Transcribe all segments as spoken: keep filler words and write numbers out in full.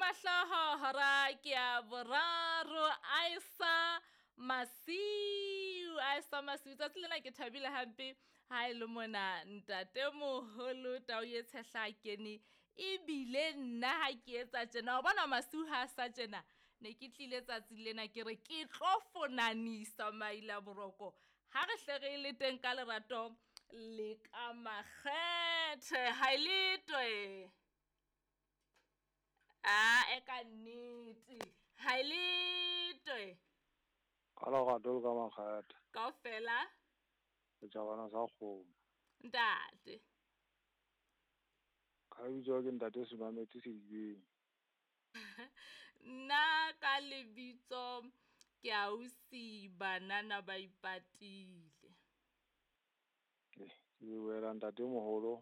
Mahloho hora ke ya boraro Aisa Masiu Aisa Masiu tsatsi lena ke thabile hampe ha e le mona ntatemoholo tau e tshehla a kene ebile nna ha ke etsa tjena wa bona Masiu ha a sa tjena ne ke tlile tsatsi lena ke re ke tlo fonanisa maila boroko ha re hle re le teng ka lerato le ka makgethe ha e letwe. Ae ka nnete ha e letwe. Ka lerato le ka makgethe. Kaofela. Setjhabana sa kgomo. Ntate. Ka lebitso ke ntate Senwametsi Sedibeng. Nna ka lebitso ke ausi banana ba ipatile. Ke lebohela ntate moholo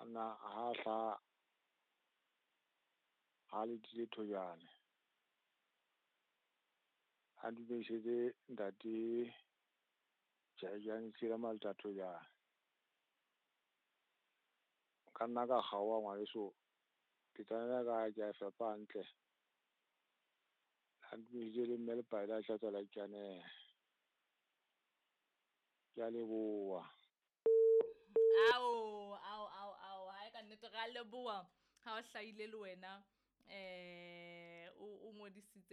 ana ha hla ha letile thojane. A dumedisetse ntate Jerajane Tsila Maleta Thojane. Ka nna ka kgaoha ngwaneso. Petsana ya ka ke a e fepa hantle. A dumedise le mme Lepaila a tlatsa la Ikanehe. Ke a leboha. Ao, ao, ao, ao, hae ka nnete ra leboha ha o hlahile le wena eh o o ngodisitse.